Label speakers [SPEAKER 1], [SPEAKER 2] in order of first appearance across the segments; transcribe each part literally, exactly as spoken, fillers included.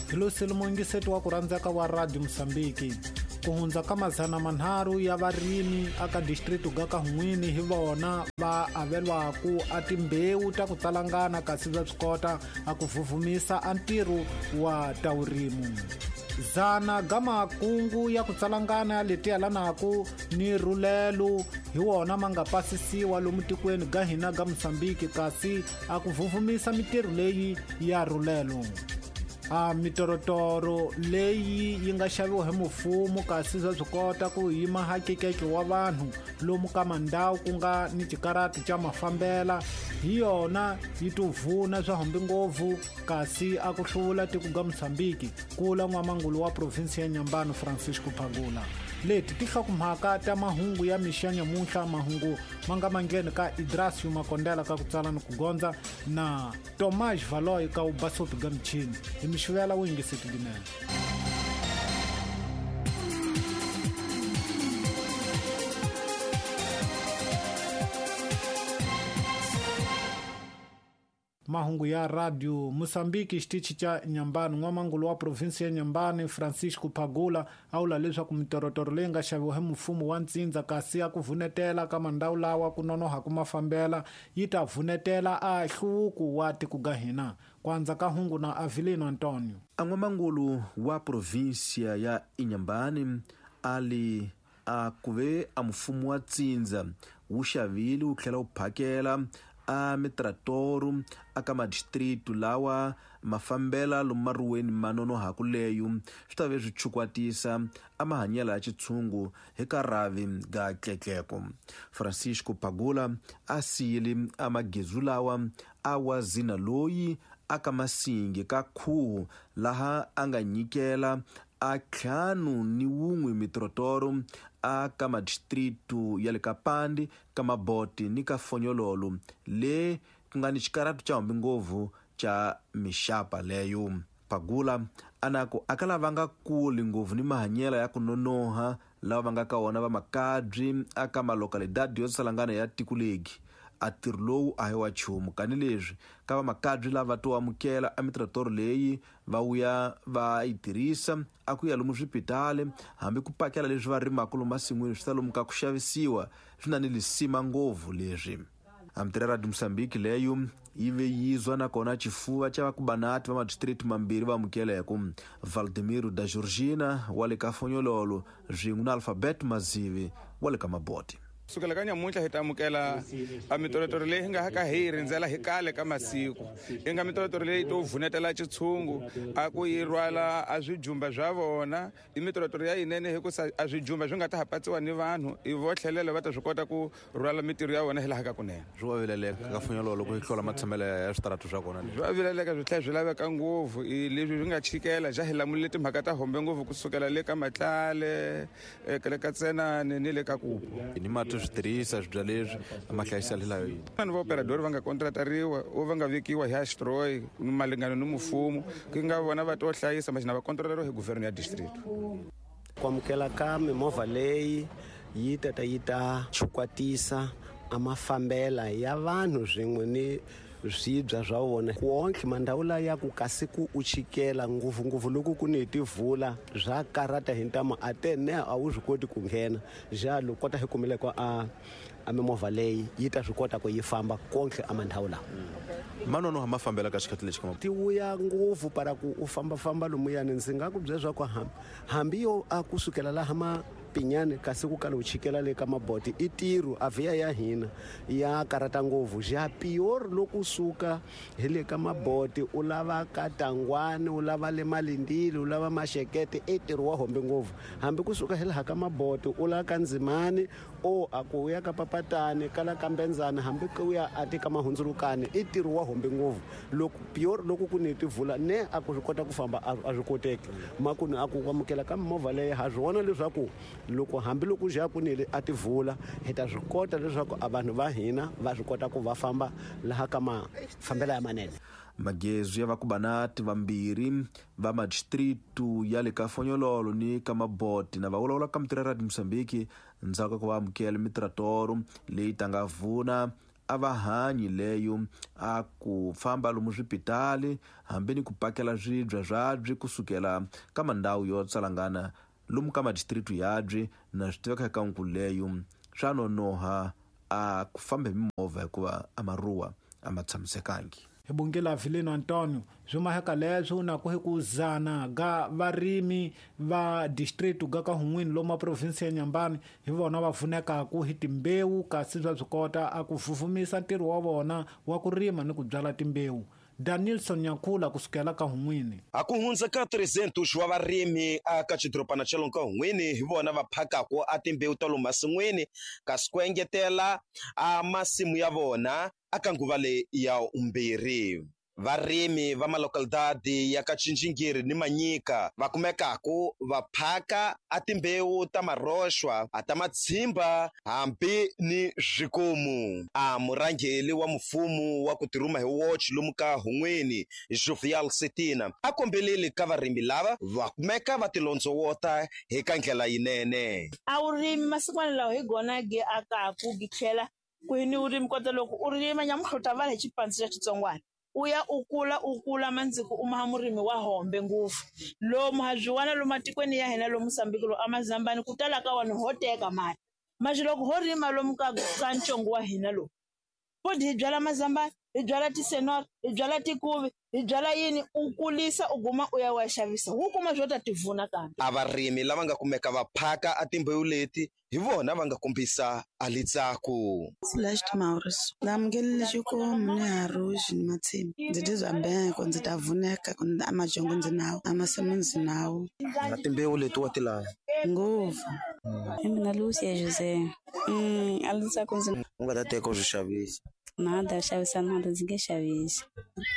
[SPEAKER 1] Hi lo selimongiseti wa ku rhandzeka wa Radio Mosambiki. Ku hundza ka mazana manharhu ya varimi aka district ga ka Hun'wini hi vona va avelwaku a timbewu ta ku tsalangana kasi va swi kota a ku vuvumisa a ntirho wa ta vurimu. Zana ga makungu ya ku tsalangana leti yalanaku ni rhulelo hi wona ma nga pasisiwa lomu tikweni ga hina ga Mosambiki kasi a ku vuvumisa mitirho leyi ya rhulelo. A mitorotoro leyi yi nga xaviwa hi mufumo kasi swa swi kota ku yima hakekeke wa vanhu lomu ka mandhawu ku nga ni xikarati xa mafambela hi yona yi tuvuna swa hambi ngopfu kasi a ku hluvula tiko ga Mosambiki kula n'wamangulu wa provinsi ya Nyambani Francisco Phagula. Leti ti hlokomhaka ta mahungu ya mixo ya nyamuntlha, mahungu ma nga mangheni ka Idrasio Makondela ka ku tsala ni ku gondza na Tomás Valoy ka ubasopi ga michini. Hi mixivela wu yingiseti ginene. Mahungu ya Radio Mosambiki xitichi xa Nyambani. N'wamangulu wa provinsi ya Nyambani Francisco Phagula a vula leswaku mitorotoro leyi nga xaviwa hi mfumo wa ntsindza kasi ya ku vunetela ka mandhawu lawa ku nonoha ku mafambela yi ta vunetela a hluvuko wa tiko ga hina. Kwanza ka hungu na Avelino Antonio.
[SPEAKER 2] A n'wamangulu wa provinsia ya Inhambane ali a kuve a mfumo wa ntsindza wu xavile wu tlhela wu phakela a mitratoro aka madistritu lawa mafambela lomu maruweni manonohaku leyo swi ta ve swi chukwatisa a mahanyelo ya xitshungu hi ka rhavi ga tletleko. Francisco Phagula a siyile a magezu lawa a wa zina loyi aka masingi ka khuhu laha a nga nyikela a ntlhanu ni wun'we mitrotoro a ka madistritu ya le ka Pandi, ka Maboti ni ka Fonyololo le ku nga ni xikaratu xa hambi ngopfu xa mixapa leyo. Phagula a na ku a ka lava nga kuli ngopfu ni mahanyelo ya ku nonoha lava va nga ka wona va makabyi a ka malokalidadi yo salangana ya tiko legi. A ntirho lowu a hi wa nchumu kanileswi ka vamakabyi lava to amukela a mitratoro leyi va vuya va yi tirhisa a ku ya lomu swipitali hambi ku pakela leswi va rimaka lomu masin'wini swi ta lomu ka ku xavisiwa swi na ni lisima ngopfu leswi. A Radio Mosambiki leyo yi ve yizwa nakona xifuva xa vakubanati va madistrict mambirhi va amukeleko Valdemiro da Georgina wa le ka Fonyololo swin'we na Alphabet Mazivi wa le ka Maboti.
[SPEAKER 3] Sukela ka nyamuntlha hi ta amukela a mitorotoro leyi hi nga ka hi yi rindzela hi kale ka masiku. Yi nga mitorotoro leyi to vunetela xitshungu a ku yi rhwala a swijumba swa vona. I mitorotoro ya yinene hikusa a swijumba swi nga ta ha patsiwa ni vanhu i vo tlhelela va ta swi kota ku rhwala mitirho ya vona hi laha ka kunene.
[SPEAKER 2] Swi wa vileleka ka Fonyololo ku yi hlola matshamelo ya switaratu swa kona.
[SPEAKER 3] Swi wa vileleka swi tlhela swi laveka ngopfu i leswi swi nga chikela ja hi lamulile timhaka ta hombe ngopfu kusukela le ka Matlale, le ka Tsenane ni le ka Kupu.
[SPEAKER 2] Ni mati swi tirhisa swibya leswi ma hlayisa hi layo yini.
[SPEAKER 3] Vanhu va operador va nga kontratariwa o va nga vekiwa hi Astroy malingano ni mfumo ku nga vona va to hlayisa machina va kontratariwa hi government ya district.
[SPEAKER 4] Ku amukela ka mimovha leyi yi ta ta yi ta chukwatisa a mafambela ya vanhu swin'we ni swibya swa vona. Wonke mandhawu laya ku kasi ku u chikela ngopfungopfu loko ku ni tivula swa karata hi ntamu a te ne a wu swi koti ku nghena jalo kota hi kumile ko a a mimovha leyi yi ta swi kota ku yi famba konke a mandhawu lawa.
[SPEAKER 2] Manonoha ma fambela ka xikhathi lexi ka
[SPEAKER 4] ti vuya ngopfu para ku u fambafamba lomuyani ndzi nga ku byela swa ku hambi hambi yo a kusukela laha ma Pinyane kasi ku kala u chikela le ka Maboti i ntirho a vhiya ya hina ya karata ngopfu ja pior loko suka hi le ka Maboti u lava ka Tangwani u lava le Malindile u lava Maxekete i ntirho wa hombe ngopfu hambi kusuka hi laha ka Maboti u lava ka Ndzimani o a ku ya ka Papatani kala ka Mbenzana hambi ku ya a tika Mahundzulukani i ntirho wa hombe ngopfu loko pior loko ku ni tivula ne a ku swi kota ku famba a swi koteki makunu a ku amukela ka mimovha leyi ha swi vona leswaku loko hambi loko ja ku nile a tivula hi ta swi kota leswaku a vanhu va hina va swi kota ku va famba laha ka mafambelo ya manene.
[SPEAKER 2] Magezi ya vakubanati vambirhi va madistritu ya le ka Fonyololo ni ka Maboti na va vulavula ka mitirho ya Radio Mosambiki ndzhaku ka ku va amukela mitratoro leyi ta nga vuna a va hanyi leyo a ku famba lomu swipitali hambi ni ku pakela swibya swabyi kusukela ka mandhawu yo tsalangana lomu ka madistritu yabyi na swi tiveka eka nkulu leyo swa nonoha a ku famba hi mimovha hikuva a maruwa a ma tshamisekangi.
[SPEAKER 1] Hi bongela Vilino Antonio swi maheka leswo na ku hi ku zana ga varimi va district ga ka Hun'wini lomu province ya Nyambani hi vona va pfunekaku hi timbewu kasi swa swi kota a ku fufumisa ntirho wa vona wa ku rima ni ku byala timbewu. Danielson Nyakhula kusukela ka Hun'wini.
[SPEAKER 5] A ku hundza ka trezentos wa varimi aka xidorobana xa lomu ka Hun'wini hi vona va phakaku a timbewu ta lomu masin'wini kasi ku engetela a masimu ya vona aka nguva leyi ya umbirhi. Varimi va malocalidade ya ka Tjinjingiri ni Manyika va kumekaku va phaka a timbewu ta maroxwa a ta matshimba hambi ni swikomu. A murhangeli wa mfumo wa ku tirhuma hi watch lomu ka Hun'wini Jovial Setina a kombeleli ka varimi lava va kumeka va tilondzowota hi ka ndlela yinene.
[SPEAKER 6] A wu rimi masikwana lawa hi gona gi akaku gi tlhela ku ni urimi kota loko u rima nyamuhla u ta vala hi xipandzi xa xitsongwana u ya u kula u kula mandziko u maha murimi wa hombe ngopfu lomu ha byiwana lomu matikweni ya hina lomu Mozambique lo amazambani ku tala ka wona ho teka mali manje loko ho rima lomu ka ka ntsongo wa hina lowu futhi hi byala mazambani hi byala tisenora hi byala tikuvi hi byala yini u kulisa u guma u ya wa xavisa wu kuma swo ta tivuna kambe.
[SPEAKER 5] A varimi lava nga kumeka va phaka a timbewu leti hi vona va nga kombisa a litsaku.
[SPEAKER 7] Celeste Maurice ndzi xikomu ni haruxi ni matshimba ndzi tizwa beko ndzi ta vuneka a majongo ndzi nawo a masimu ndzi nawo.
[SPEAKER 5] Na timbewu leti wa ti lava
[SPEAKER 7] ngopfu.
[SPEAKER 8] I mina Lucia Jose. Mm, a litsaku ndzi
[SPEAKER 5] u nga ta teka u swi xavisa.
[SPEAKER 8] Nada xavisa nada ndzi nge xavisi.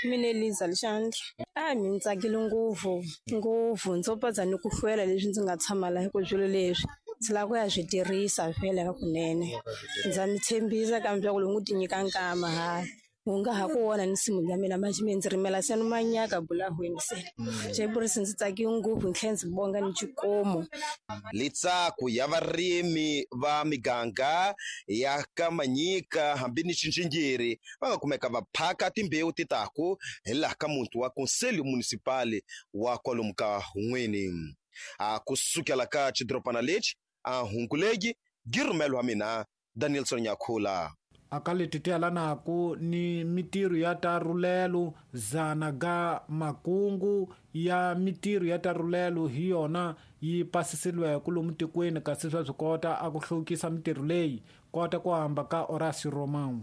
[SPEAKER 9] Mina Eliza Lixandra. A mi ndzi tsakile ngopfu ngopfu ndzo padza ni ku hlwela leswi ndzi nga tshama laha ku swilo leswi ndzi lava ku ya swi tirhisa vhele ka kunene. Ndza mi tshembisa kambe ku loko ti nyika nkama ha u nga ha ku vona ni nsimu ya mina manje mi ndzi rimela se ni manyaka bulahweni se. Xepurisi ndzi tsakile ngopfu ni tlhela ndzi bonga ni xikomo.
[SPEAKER 5] Litsaku ya varimi va miganga ya ka Manyika hambi ni Tjinjingiri va nga kumeka va phaka timbewu ti taku hi laha ka muti wa Conselho Municipal wa kwalomu ka Hun'wini. A kusukela ka xidorobana lexi a Hunkulegi girumelo wa mina Danielson Nyakhula.
[SPEAKER 1] Aka leti ti yalanaku ni mitirho ya ta rulelo zana ga makungu ya mitirho ya ta rulelo hi yona yi pasisiliweke lomu tikweni kasi swa swi kota a ku hluvukisa mitirho leyi kota ku hamba ka Horacio Romão.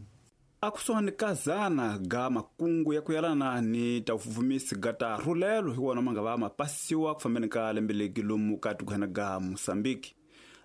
[SPEAKER 10] A kusuhani ka zana ga makungu ya ku yalana ni ta vufumisi ga ta rulelo hi wona ma nga va ma pasiwa ku fambeni ka lembe legi lomu ka tikwana ga Mozambique.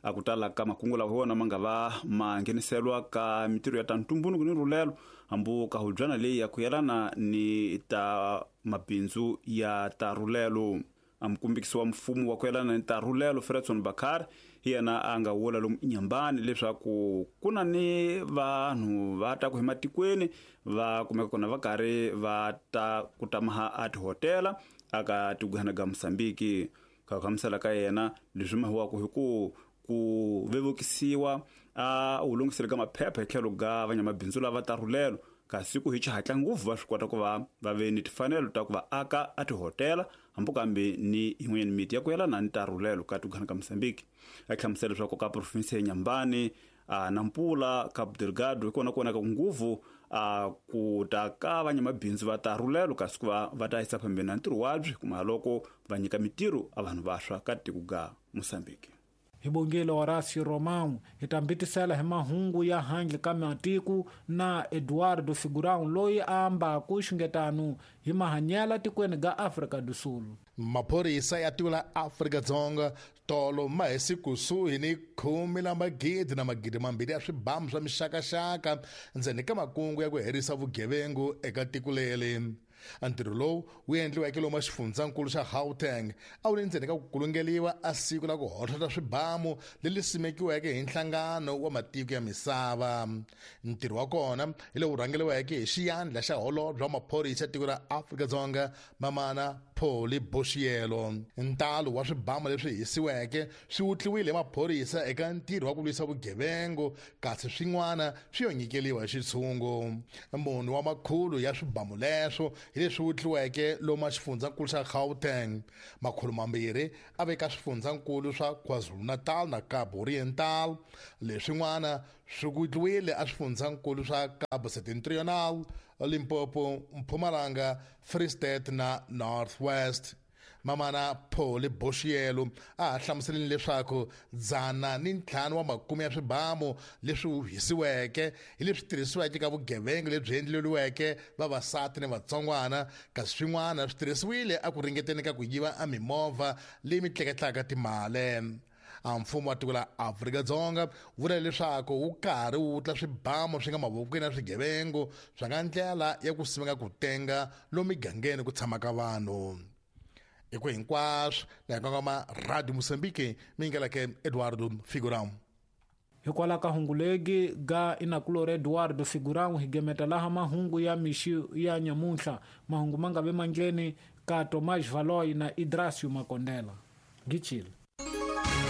[SPEAKER 10] A ku tala ka makungu lawa hi wona ma nga va ma ngheniselwa ka mitirho ya ta ntumbuluko ni rulelo hambi ka hubyana leyi ya ku yalana ni ta mabindzu ya ta rulelo. A mukumbikisi wa mfumo wa ku yalana ni ta rulelo Fredson Bakar hi yena a nga vula lomu Inyambani leswaku ku na ni vanhu va ta ku hi matikweni va kumeka kona va karhi va ta ku tamaha a tihotela aka tikwana ga Mozambique. Ka ku hlamusela ka yena leswi mahiwaka hi ku ku vevukisiwa a wu lunghisele ka maphepha hi tlhelo ga vanyamabindzu lava ta rulelo kasi ku hi xihatla ngopfu va swi kota ku va va ve ni timfanelo ta ku va aka a tihotela hambi kambe ni yin'wanyana miti ya ku yelana ni ta rulelo ka tikwana ka Mozambique. A hlamusela leswaku ka province ya Nyambani a Nampula Cabo Delgado hi kona kona ka nguvu a ku ta ka vanyamabindzu va ta rulelo kasi ku va va ta yisa phambeni na ntirho wabyi kuma loko va nyika mitirho a vanhu vaswa ka tiko ga Mozambique.
[SPEAKER 1] Hi bongile Horacio Romão hi ta mbitisela hi mahungu ya handle ka matiko na Eduardo Figurão loyi a ambaku xungetano hi mahanyela tikweni ga Afrika do Sul.
[SPEAKER 11] Maphorisa ya tiko la Afrika-Dzonga tolo ma hisi kusuhi ni khume la magidi na magidi mambirhi ya swibamu swa mixakaxaka ndzeni ka makungu ya ku herisa vugevengu eka tiko leri. Ntirho lowu wu endliweke lomu xifundzankulu xa Gauteng a wu ri ndzeni ka ku kulungeliwa a siku la ku hohlota swibamu leri simekiweke hi nhlangano wa matiko ya misava. Ntirho wa kona hi lowu rhangeriweke hi xiyandla xa holobye wa maphorisa ya tiko ra Afrika-Dzonga Mamana Polly Boshielo. Ntalo wa swibamu leswi hisiweke swi wutliwile hi maphorisa eka ntirho wa ku lwisa vugevengu, kasi swin'wana swi yo nyikeliwa hi xitshungu. Munhu wa makhulu ya swibamu leswo hi leswi wutliweke lomu xifundzankulu xa Gauteng, makhulu mambirhi a veka swifundzankulu swa KwaZulu-Natal na Kapa Oriental. Leswin'wana swi wutliwile a swifundzankulu swa Kapa Septentrional, Limpopo, Mpumalanga, Free State na North West. Mamana Polly Boshielo a ha hlamuseleni leswaku dzana ni ntlhanu wa makume ya swibamu leswi hisiweke hi leswi tirhisiweke ka vugevenga lebyi endleriweke vavasati ni vatsongwana, kasi swin'wana swi tirhisiwile a ku ringeteni ka ku yiva a mimovha leyi mitleketlaka timali. A mfumo wa tiko la Afrika-Dzonga vula leswaku wu karhi wu wutla swibamu swi nga mavokweni ya swigevengu swa nga ndlela ya ku simeka ku tenga lomu migangeni ku tshamaka vanhu. Hi ku hinkwaswo na hi kongoma Radio Mozambique, mi yingeleke Eduardo Figurão.
[SPEAKER 1] Hikwalaho ka hungu legi ga inakulori Eduardo Figurão hi gemeta laha mahungu ya mixi ya nyamuntlha. Mahungu ma nga ve mandleni ka Tomás Valoy na Idrasio Makondela. Gichile.